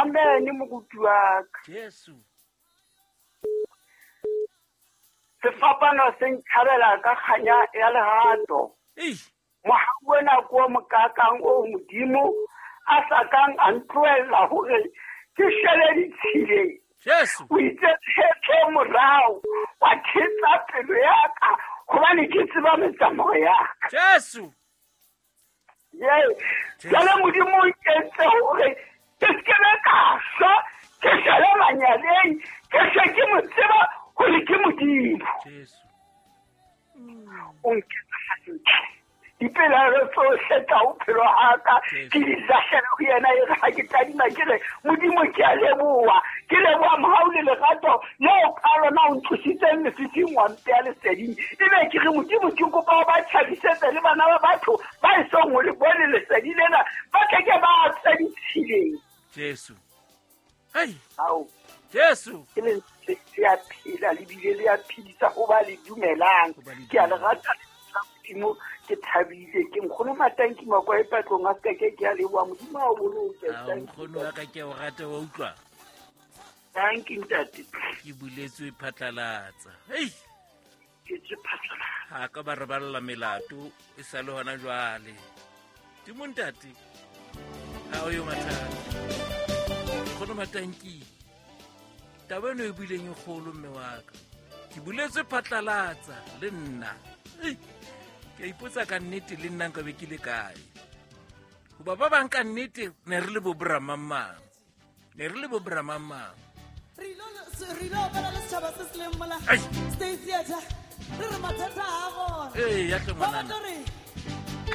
Amen moruti wa ka. Jesu. Sefapano se ntšhabela ka kganya ya lerato. Mohau ona ke o mokakang o Modimo a sa kang a ntlohella hore ke shele ditshileng. Jesu. O itse tshepe morao wa thetsa pelo ya ka gobane ke tseba metsamao ya ka. Jesu. Ye, jale Modimo o nkentse hore ke se ke be ka shwa ke shele manyaleng ke se ke mo tseba hore ke Modimo. Jesu. O nketsa hantle. Dipelaelo tsohle tsa bophelo ga ka ke di lahlela go yena, e re ga ke tadima ke re Modimo ke a leboa, ke leboa mohau le lerato leo ka lona o ntlositseng lefifing wa mpea leseding. Ebe ke re Modimo ke kopa o ba tjhabisetse le bana ba batho ba esong ho le bone lesedi lena, ba tle ke ba tswe ditshileng. Jesu. Hei. Ao. Jesu. Ke lentswe le a phela le bile le a phedisa ho ba le dumelang. Ke a le rata Modimo, ke thabile, ke nkgono Matanki Makwa e patlong a seka ke a leboha Modimo a o boloke. Ao, nkgono wa ka ke a o rata, wa utlwa? Thank you, ntate. Ke buletswe phatlalatsa. Hei. Ke tswe phatlalatsa. Ha ka ba re balla melato e sa le hona jwale. Timo ntate. Ha o yo mathata. Nkgono Matanki. Taba eno e buileng e kgolo mme wa ka. Ke buletswe phatlalatsa le nna. Ei, ke a ipotsa ka nnete le nna nka be ke le kae. Hoba ba bang ka nnete ne re le bo bramamang. Ne re le bo bramamang. Re ilo opela le setšhaba se se leng mola Ai. State Theatre. Re re mathata a gona. Ee, ya tle Ba ngwanana. batla re